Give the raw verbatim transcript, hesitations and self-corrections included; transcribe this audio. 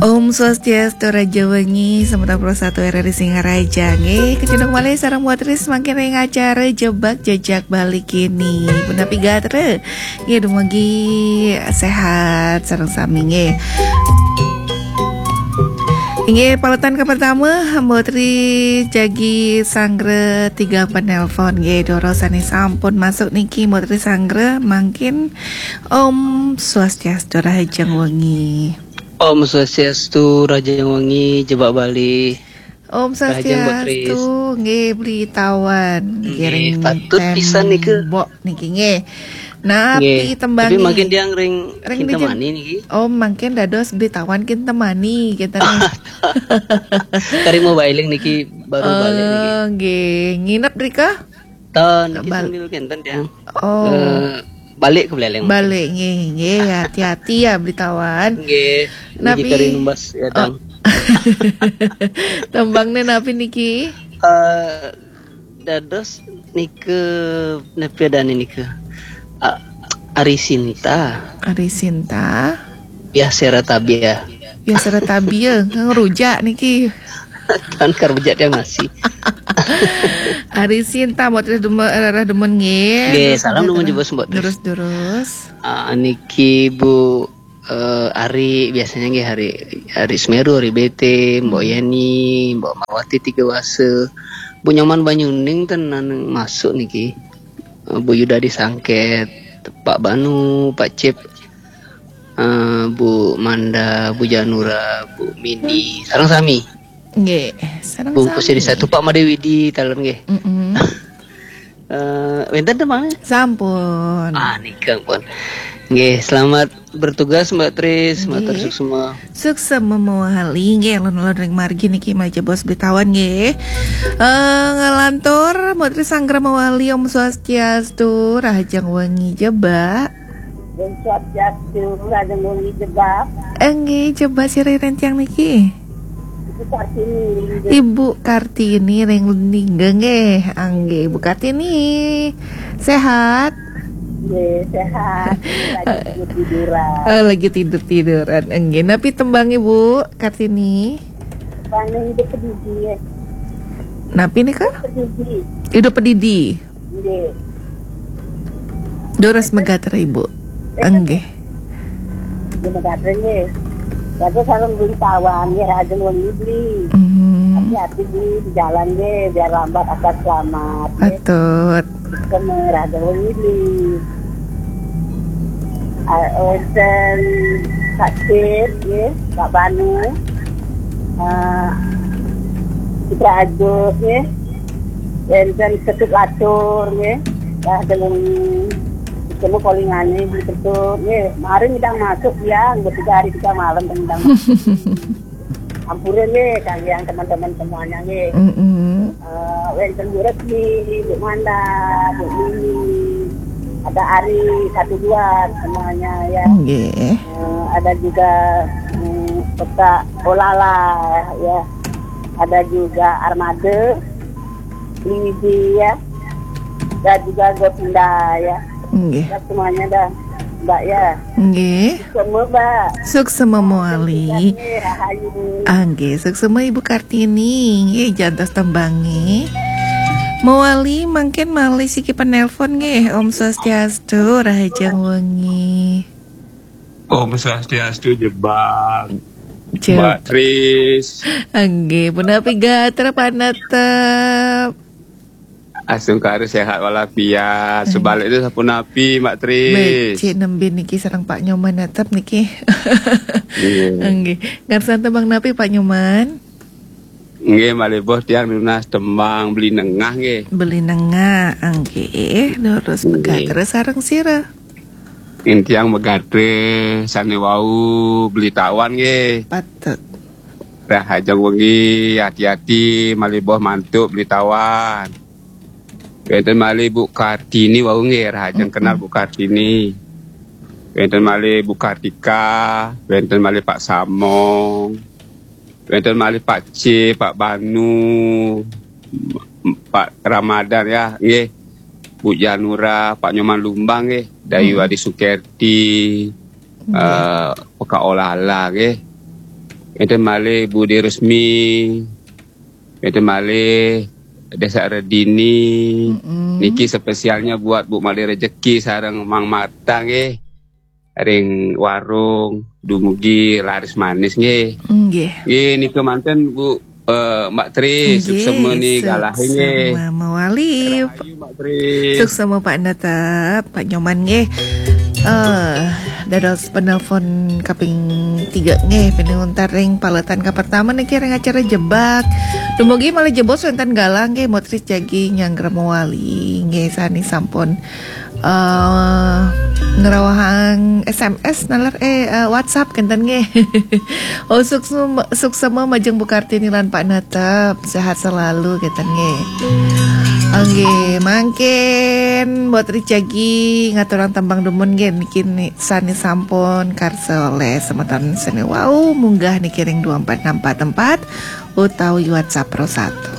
Om Swastiastu, Raja Wengi, semeton puluh satu R R I Singaraja nggih. Kecunduk malih sareng Mbok Tris mangkin ring acara Jebak Jejak Bali kini. Punapi gatra? Nggih, dumugi sehat sareng sami nggih. Inggih, paletan kapertama, Mbok Tris jagi sanggra tigang penelpon nggih, doro sane sampun masuk niki, Mbok Tris sanggra mangkin. Om Swastiastu, Rahajeng Wengi. Om Swastiastu, Rahajeng Wengi, Jebak Bali. Om Rahajeng, Mbok Tris. Swastiastu, nggih, Beli Tawan. Nggih, ngiring patut pisan nika. Tembok niki nggih. Napi, nggih, tembange? Tapi mangkin tiang ring, ring kin di jem-, temani niki. Oh, mangkin dados Beli Tawan kin temani, kita nih. Kari mau bailing niki, baru balik niki. Oh, nggih. Nginep rika? Ten, niki bal- sambil kenten tiang. Oh. Eh, balik ke Buleleng. Balik, nggih, nggih, hati-hati ya, Beli Tawan. Nggih, niki napi kari numbas ya, oh, Dang. Tembangne napi niki? Eh, dados nika, napi adane nika? A-, Ari Sinta. Ari Sinta. Biasa rata bia. Biasa rata bia, ngerujak niki. Tan karujak tiang nasi. Ari Sinta, Mbok Tris demen, eh, rarah demen nggih. Nggih, terus salam nggih, nuwun terus. Jebos, Mbok Tris. Terus, terus. Ah, niki Bu, eh, Ari, biasanya nggih Ari, Ari Semeru, Ari B T, Mbok, hmm, Yeni, Mbok Mawati Tiga Wase. Bu Nyoman Banyuning ten nang masuk niki. Eh, Bu Yuda di Sangket, Pak Banu, Pak Cip, eh, Bu Manda, Bu Janura, Bu Mini, sareng sami. Nggih, sareng sami. Bungkus jadi satu, Pak Made Widi, talon nggih. Mm-mm. Eh, wenten tembange? Sampun. Ah, nika pun. Nggih, selamat bertugas, Mbok Tris, nggih. Matur suksma. Suksma mawali nggih, alon-alon ring margi niki malih jebos Beli Tawan nggih. Eh, ngalantur, Mbok Tris sanggra mawali, Om Swastiastu, Rahajeng Wengi Jebak. Om Swastiastu, Rahajeng Wengi Jebak. Enggih, Jebak sira ring tiang niki? Ibu Kartini. Ibu Kartini ring Lundingga nggih. Enggih, Ibu Kartini. Sehat? Nggih, sehat. Lagi tidur-tiduran. Oh, lagi tidur-tiduran. Enggih, napi tembang Ibu Kartini? Paning Hidup Pedidi, ya. Napi nika? Hidup Pedidi. Hidup Pedidi. Nggih. Durus megatra, Ibu. Enggih. Nggih, megatra nggih. Bagus sareng Beli Tawan nggih, Rahajeng Wengi Beli. Hmm. Hati-hati Beli di jalan nggih, biar lambat asal selamat nggih. Patut. Rahajeng Wengi Beli. Ah, wenten Pak Cip nggih, Pak Banu. Ah, Citra Ajo nggih. Wenten Ketut Latur nggih. Rahajeng Wengi. Ketemu Kolingane Beli Ketut nggih. Mari kita masuk ya, tiga hari tiga malam kita masuk. Ampura nggih, kalian teman-teman semuanya nggih. Mm-mm. Eh, wenten Bu Resmi, Bu Manda, Bu Mini, ada Ari satu dua semuanya ya. Nggih. Eh, ada juga, mm, Kota Olala ya. Ada juga Armada, Lidi ya. Dan juga Govinda ya. Nggih. Ya, semuanya dah, Mbak ya. Nggih. Semua, Mbak. Suksma mawali. Nggih, rahayu. Ah, nggih, suksma Ibu Kartini. Nggih, jantos tembange. Mawali mangkin malih siki penelpon nggih. Om Swastiastu, Rahajeng Wengi. Om Swastiastu, Jebak. Jeb- Mbak Tris. Nggih, punapi gatra panatep? Astungkara sehat walafiat. Nggih. Sebaliknya sapunapi, Mbak Tris? Becik nembe niki sareng Pak Nyoman tetep niki. Iya. Nggih. Ngarsan tembang napi, Pak Nyoman? Nggih, malih boh tiang nunas tembang Beli Nengah nggih. Beli Nengah, nggih. Terus, nggih, megatra sareng sira? Ing tiang megatra sane wau Beli Tawan nggih. Patut. Rahajeng wengi, hati-hati malih boh mantuk Beli Tawan. Wenten malih Bu Kartini wau nggih, rahajeng, mm-mm, kenal Bu Kartini. Wenten malih Bu Kartika, wenten malih Pak Samong, wenten malih Pak C, Pak Banu, Pak Ramadan ya, nggih. Bu Janura, Pak Nyoman Lumbang nggih, Dayu, mm-mm, Adi Sukerti, nggih, eh, Peka Olala nggih. Enten malih Budi Resmi, enten malih Desa Redini. Mm-mm. Niki spesialnya buat Bu Malih Rejeki sareng Mang Marta nggih. Ring warung dumugi laris manis nggih. Nggih. Nggih, nika manten Bu, eh, Mbak Tri, Nggih, suksema ni suksema galah nggih. Mawali. Rahayu Mbak Tri. Suksema Pak Netep, Pak Nyoman nggih. Eh, dados penelpon kaping tiga nggih, pinuntar ring paletan kapertama niki ring acara Jebak. Dumugi malih jebos wénten galah nggih, Mbok Tri jagi nyanggra mawali nggih, sane sampun eh ngrawahang S M S naler eh, eh, WhatsApp kenten nggih. Oh, suksema, suksema majeng Bu Kartini lan Pak Netep, sehat selalu kenten nggih. Nggih, mangkin Mbok Tri jagi ngaturang tembang dumun nggih niki ni- sane sampun karsa olih semeton sane wau munggah niki ring dua empat enam empat empat utawi WhatsApp Pro satu.